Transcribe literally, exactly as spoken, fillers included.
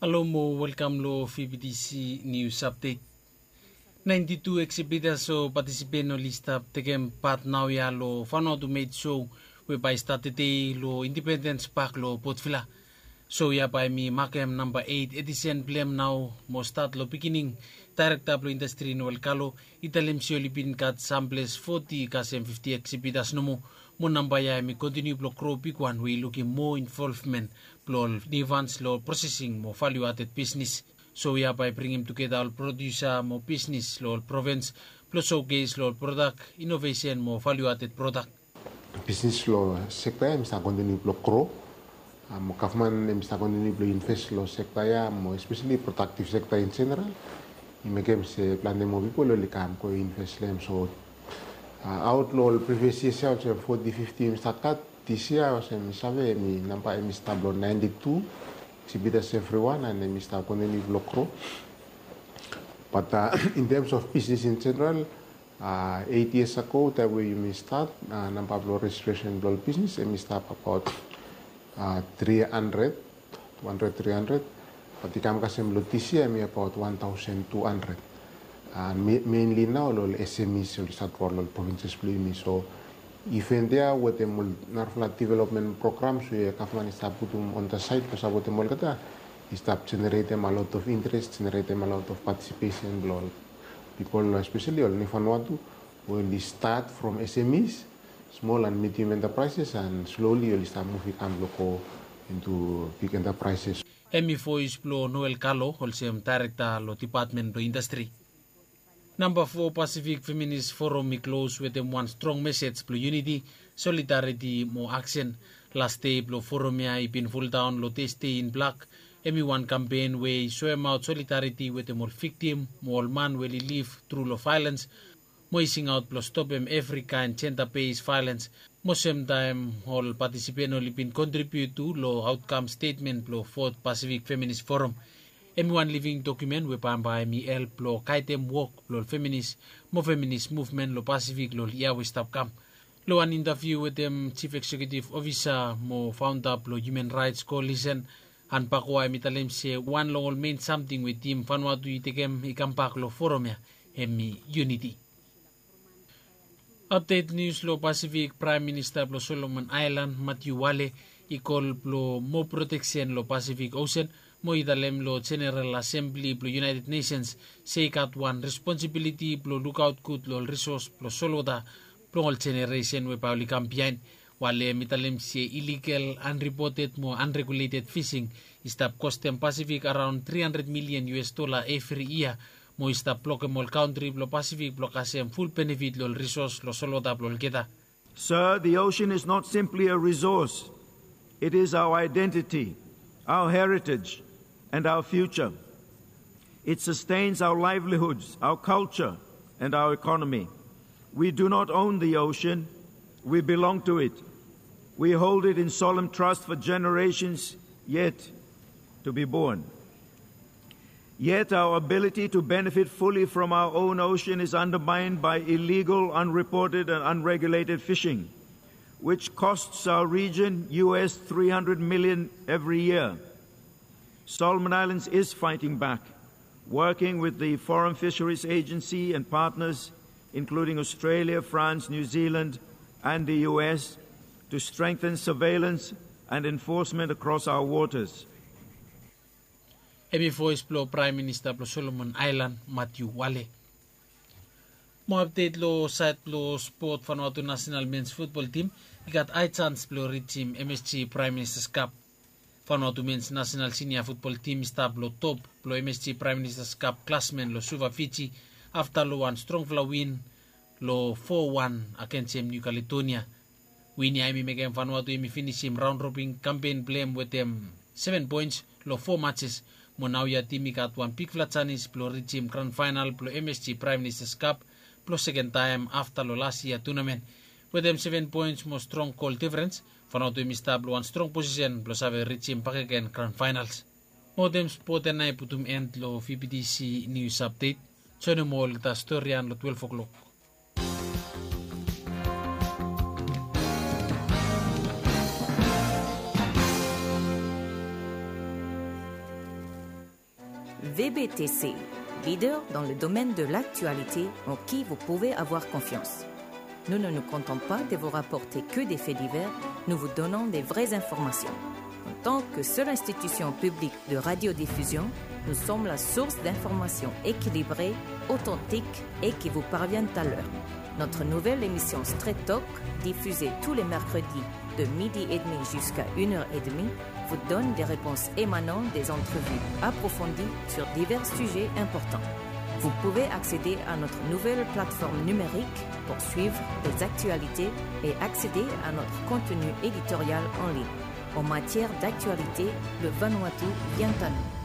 Halo mo welkam lo V B T C News Update. Naenti tu eksibitas o patisipen oli stap tekem pat naoia lo Vanuatu Made Show we bae i stat tede lo Independens Pak lo Port Vila. Show ya bae hemi makem namba eit edisen blong hem nao mo stat lo pikinini. Daerekta blo indastri Noel Kalo i talem se oli bin gat samples foti kasem fifti eksibitas nomo, mo namba ya hemi kontiniu blo gro bigwan we i lukim moa involvmen blo ol niufans lo prosesing mo valiu aded bisnis. Show ya bae i bringim tugeta ol prodiusa mo bisnis lo ol provins blo showcase lo ol prodak, inovesen mo valiu aded prodak. Bisnis lo sekta ya hemi stap kontiniu blo gro. Mo gavman hemi stap kontiniu blo inves lo sekta ya mo espeseli prodaktiv sekta in jeneral. I mekem se plante moa pipol oli kam go inves lo hem. So aot lo ol privias yias ya olsem foti fifti hemi stap gat, dis yia olsem mi save hemi namba hemi stap lo naenti tu. Eksibitas evriwan and hemi stap kontiniu blo gro. Bat in tems of bisnis in jeneral, eit yias ago taem we yumi stat, namba blo rejistresen blo ol bisnis hemi stap abaot tri handred, tu handred, tri handred. Bat i kam kasem lo dis yia hemi abaot wan taosen tu handred. Menli nao lo ol SMEs oli stat lo ol provinses blo yumi. So iven ya wetem ol narafala developmen programs we gavman i stap putum on the side blo sapotem olgeta, i stap jeneretem a lot of interes, jeneretem a lot of patisipesen blo ol pipol, espeseli ol niu Vanuatu we oli stat from SMEs, smol and medium enterprises, and slowly oli stap muv i kam blo go into big enterprises. Hemi voes blo Noel Kalo olsem daerekta lo depatmen blo indastri. Namba fo Pasifik Feminis Forum i klos wetem wan strong mesej blo yuniti, solidariti mo aksen. Las dei blo forum ya i bin fuldaon lo Thursday in Black. Hemi wan kampen we i soemaot solidariti wetem ol viktim mo ol man we oli liv tru lo vaelens, mo i singaot blo stopem evri kaen jenda bes vaelens, mo semtaem ol patisipen oli bin kontribiut tu lo aotkam stetmen blo Fot Pasifik Feminis Forum. Hemi wan living dokumen we bambae hemi help blo gaedem wok blo ol feminis mo feminis muvmen lo Pasifik lo ol yia we i stap kam. Lo wan intaviu wetem Jif Eksekiutiv Ofisa mo faonda blo Hiuman Raets Koalisen, Ann Bagoa, hemi talem se wan long ol mein samting we tim Vanuatu i tekem i kambak lo forum ya hemi yuniti. Apdet nius lo Pasifik, Praem Minista blo Solomon Aelan, Matiu Wale, i kol blo moa proteksen lo Pasifik Osen, mo i talem lo Jeneral Asembli blo United Nations se i gat wan responsibiliti blo lukaot gud lo ol risos blo solwota blong ol jeneresen we bae oli kam biaen. Wale hemi talem se iligal, anripoted mo anreguleted fising i stap kostem Pasifik araon tri handred milian US dola evri yia, mo i stap blokem ol kantri blo Pasifik blo kasem ful benefit lo ol risos lo solwota blo olgeta. Sir, the ocean is not simply a resource. It is our identity, our heritage, and our future. It sustains our livelihoods, our culture, and our economy. We do not own the ocean. We belong to it. We hold it in solemn trust for generations yet to be born. Yet our ability to benefit fully from our own ocean is undermined by illegal, unreported, and unregulated fishing, which costs our region US three hundred million every year. Solomon Islands is fighting back, working with the Foreign Fisheries Agency and partners, including Australia, France, New Zealand, and the US, to strengthen surveillance and enforcement across our waters. Hemi voes blo Praem Minista blo Solomon Aelan, Matiu Wale. Mo apdet lo saed blo spot, Vanuatu nasenal mens futbol tim i gat hae jans blo rijim MSG Praem Ministas Kap. Vanuatu mens nasenal sinia futbol tim i stap lo top blo MSG Praem Ministas Kap klasmen lo Suva, Fiji, afta lo wan strongfala win lo fo wan agensem Niu Kaledonia. Win ya hemi mekem Vanuatu hemi finisim raon robin kampen blo hem wetem seven poens lo fo matches. Mo naoia tim i gat wan bigfala janis blo rijim gran faenal blo MSG Praem Ministas Kap blo seken taem afta lo las yia tunamen. Wetem seven poens mo strong gol difrens, Vanuatu hemi stap lo wan strong posisen blo save rijim bakegen gran faenals. Mo wetem spot ya nao i putum en lo VBTC Nius Apdet. Joenem olgeta storian lo twelef oklok. V B T C, leader dans le domaine de l'actualité en qui vous pouvez avoir confiance. Nous ne nous contentons pas de vous rapporter que des faits divers, nous vous donnons des vraies informations. En tant que seule institution publique de radiodiffusion, nous sommes la source d'informations équilibrées, authentiques et qui vous parviennent à l'heure. Notre nouvelle émission Straight Talk, diffusée tous les mercredis de midi et demi jusqu'à une heure et demie, vous donne des réponses émanant des entrevues approfondies sur divers sujets importants. Vous pouvez accéder à notre nouvelle plateforme numérique pour suivre les actualités et accéder à notre contenu éditorial en ligne. En matière d'actualité, le Vanuatu vient à nous.